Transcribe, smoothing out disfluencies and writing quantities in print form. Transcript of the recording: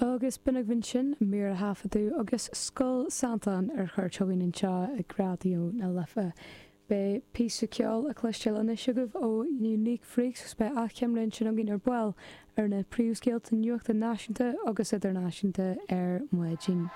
Agus b'in agaibh ansin mír a thaifeadadh agus Scoil Santáin ar cuairt chugainn anseo ag Raidió na Life. Beidh píosa ceoil le cloisteáil anois agaibh ó Unique Freaks agus beidh achoimre ansin againn ar ball ar na príomhscéalta nuachta náisiúnta agus idirnáisiúnta ar maidin.